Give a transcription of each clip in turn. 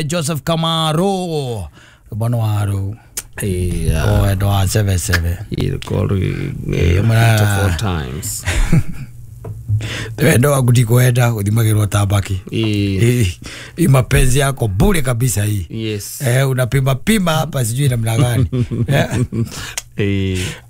Joseph Kamaro bwana waru wendo wa 77 four times wendo waku ndikwenda uthimagirwo tabaki. Hii mapenzi yako bure kabisa hii. Yes. Unapima pima hapa sijui namna gani.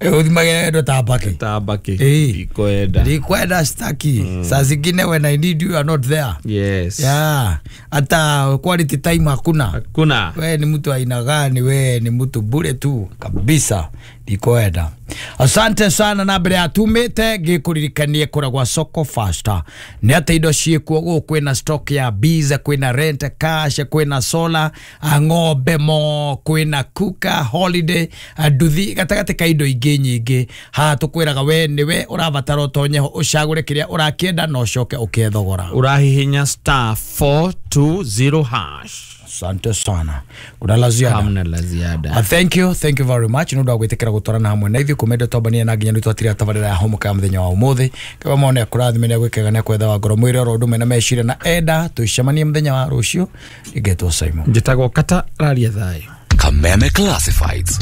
Uthimagĩra wendo tabaki. Tabaki. Ndikwenda. Ndikwenda staki. Saa zingine when I need you are not there. Yes. Yeah. Hata quality time hakuna. Hakuna. We ni mtu aina gani? We ni mtu bure tu kabisa. Ndikwenda. Asante sana na mbere atumite ngikuririkanie kura gwa Soko Faster. Ni ati indo ciikuo guku, kwina stock ya bees, kwina rent cash, kwina solar, ng'ombe mo, kwina kuka holiday, nduthi gatagati ka indo ingĩ nyingĩ. Haha tukwiraga we niwe ũrabatara ũtonye ho ũcagũre kĩrĩa ũrakĩenda na ũcoke ũkĩe thogora. Ũrahihinya star 420 hash. Asante sana. Kuna la ziada? Hamna la ziada. Thank you, thank you very much. Nundu wa gwitikira gutwarana hamwe na ithuĩ kumende twambania na nginya twatira tabarĩra ya homoka ya mũthenya wa ũmũthĩ. Kaba mone akũrathime nĩ agwĩkega nĩ akwetha wa ngoro mwĩrĩ oro ũndũ mena meciria na enda tũcemanie mũthenya wa rũciũ. Ingetwo Simon. Njĩtagwo Kata Raria Thayũ. Kameme Classifieds.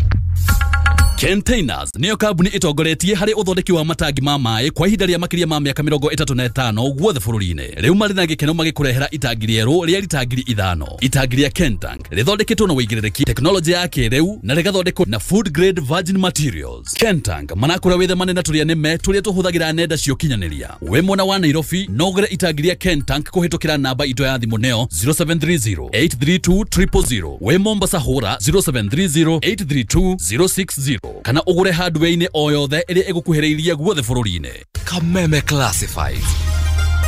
Containers niyo kambuni itongoretie harĩ ũthondeki wa matangi ma maĩ kwa ihinda rĩa makĩria ma mĩaka 35 guothe bũrũri-inĩ. Rĩu marĩ na gĩkeno magĩkũrehera itangi rĩerũ rĩa rita 5,000. Itangi rĩa Kentank rĩthondeketwo na wĩigĩrĩrĩki tekinoronjĩ ya kĩrĩu na rĩgathondekwo na food grade virgin materials. Kentank manakũra wĩthemane na tũrĩa nĩme tũrĩa tũhũthagĩra nenda cia ũkinyanĩria. Wĩ mwena wa Nairobi no ũgũre itangi rĩa Kentank kũhĩtũkĩra namba itũ ya thimũ nĩyo 0730 832 000. Wĩ Mombasa hũra 0730 832 060 kana ũgũre hardware-inĩ o yothe ĩrĩa ĩgũkuhĩrĩirie guothe bũrũri-inĩ. Kameme Classifieds.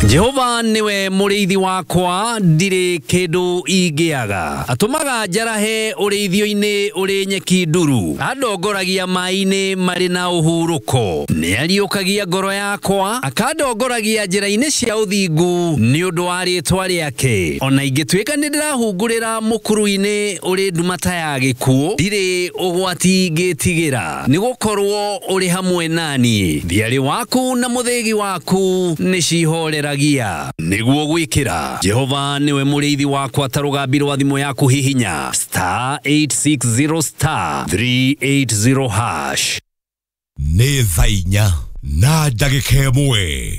Jehova niwe mũrĩithi wakwa, ndirĩ kĩndũ ingĩaga. Atũmaga njarahe ũrĩithio-inĩ ũrĩ nyeki nduru, andongoragia maĩ-inĩ marĩ na ũhurũko. Nĩariũkagia ngoro yakwa, akandongoragia njĩra-inĩ cia ũthingu nĩ ũndũ wa rĩĩtwa rĩake. Ona ingĩtuĩka nĩ ndĩrahungurĩra mũkuru-inĩ ũrĩ nduma ta ya gĩkuũ, ndirĩ ũgwati ngĩtigĩra, nĩgũkorwo ũrĩ hamwe naniĩ. Thiarĩ waku na mũthĩgi waku nĩcihoreragia. Nĩguo gwĩkĩra Jehova niwe mũrĩithi wakwa ta rũgambi rwa thimũ yaku hihinya star 860 star 380 hash. Nĩ thaa inya na ndagĩka ĩmwe.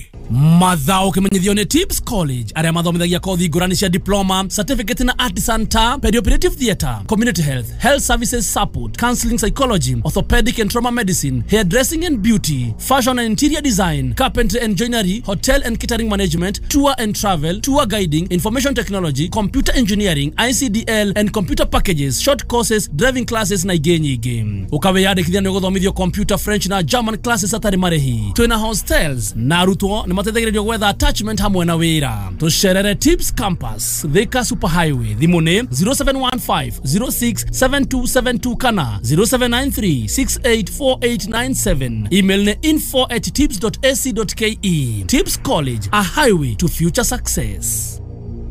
Mathao kimenyithio nĩ Tips College arĩa mathomithagia kothi ngũrani cia diploma, certificate na artisan ta perioperative theatre, community health, health services support, counseling psychology, orthopedic and trauma medicine, hairdressing and beauty, fashion and interior design, carpentry and joinery, hotel and catering management, tour and travel, tour guiding, information technology, computer engineering, ICDL and computer packages, short courses, driving classes na ingĩ nyingĩ. Ũkawĩyandĩkithia nĩ ũgũthomithio computer, French na German classes hatarĩ marĩhi. Twĩna hostels na arutwo nĩ mateithagĩrĩrio gwetha attachment hamwe na wĩra. Tũcerere Tips Campus, Thika Super Highway. Thimũ nĩ 0715 067272 kana 0793 684897. Email nĩ info@tips.ac.ke. Tips College, a highway to future success.